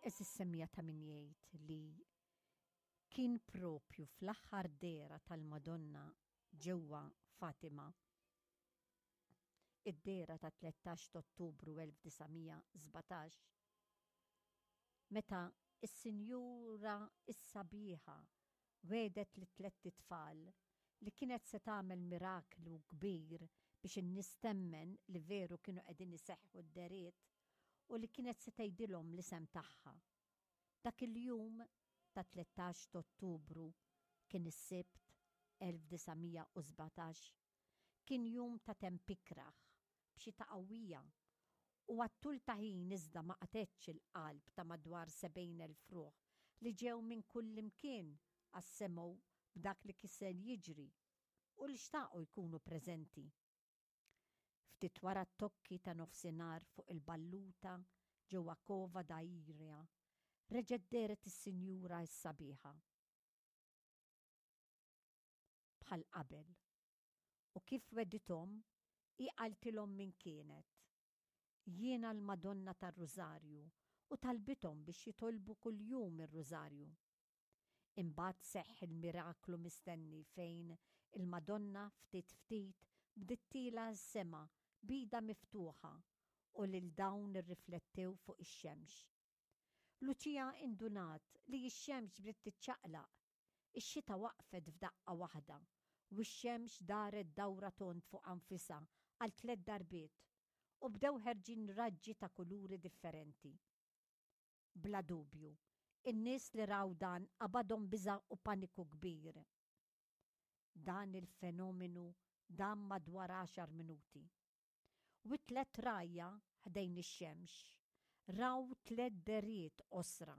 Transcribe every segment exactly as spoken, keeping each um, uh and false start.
Għeżież semmiegħa, ta' min jgħid li kien propju fl-aħħar dehra tal-Madonna ġewwa Fatima, id-dehra ta' tlettax ta' Ottubru elf disa' mija sbatax, meta is-Sinjura is-Sabiħa wegħdet li tlett itfal li kienet se tagħmel miraklu kbir biex in-nies temmen li veru kienu qegħdin iseħħu d-dehriet u li kienet se tgħidilhom l-isem tagħha. Dak il-jum ta' tlettax ta' Ottubru, kien is-Sibt elf disa' mija u sbatax, kien jum ta' temp ikrah b'xita qawwija u għat-tul ta' ħin, iżda ma qatgħetx il-qalb ta' madwar sebgħin elf ruħ li ġew minn kull imkien għas-semgħu b'dak li kien se jiġri u li xtaqu jkunu preżenti. Ftit wara t-tokki ta' nofsinhar, fuq il-balluta ġewwa Cova da Iria, reġgħet dehret is-Sinjura s-Sabiħa. Bħal qabel. U kif wegħdithom, hi qaltilhom min kienet. "Jiena l-Madonna tar-Rużarju", u talbithom biex jitolbu kuljum ir-Rużarju. Imbagħad seħħ il-miraklu mistenni fejn il-Madonna ftit ftit bdiet tiela' s-sema b'idha miftuħa u lil dawn irriflettew fuq ix-xemx. Lucia indunat li x-xemx bdiet tiċċaqlaq. Ix-xita waqfet f'daqqa waħda u x-xemx daret dawra tond fuq nfisha għal tliet darbiet u bdew ħerġin raġġi ta' kuluri differenti. Bla dubju, in-nies li raw dan qabadhom biża' u paniku kbir. Dan il-fenomenu dam madwar għaxar minuti. U tliet rgħajja ħdejn ix-xemx raw tliet dehriet qosra: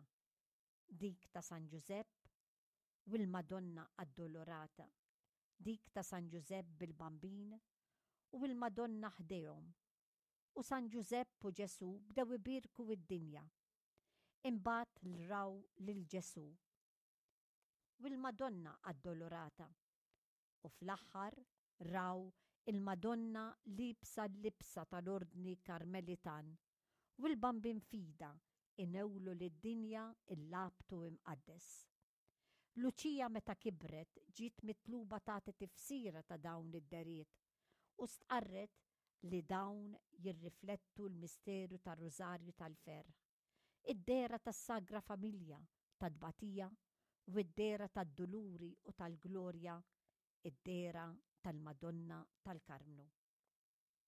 dik ta' San Ġużepp u l-Madonna Addolorata, dik ta' San Ġużepp bil-Bambin u l-Madonna ħdejhom, u San Ġużepp u Ġesu bdew ibierku id-dinja. Imbagħad raw lil Ġesu u l-Madonna Addolorata u fl-aħħar raw il-Madonna liebsa l-libsa tal-Ordni Karmelitan u l-Bambin f'idha inewlu lid-dinja l-labtu imqaddes. Luċija, meta kibret, ġiet mitluba tagħti tifsira ta' dawn id-dehriet u stqarret li dawn jirriflettu l-misteru tar-Rużarju tal-Ferħ, id-dehra tas-Sagra Familja tat-tbatija u id-dehra tad-duluri u tal-glorja, id-dehra tal-Madonna tal-Karmnu.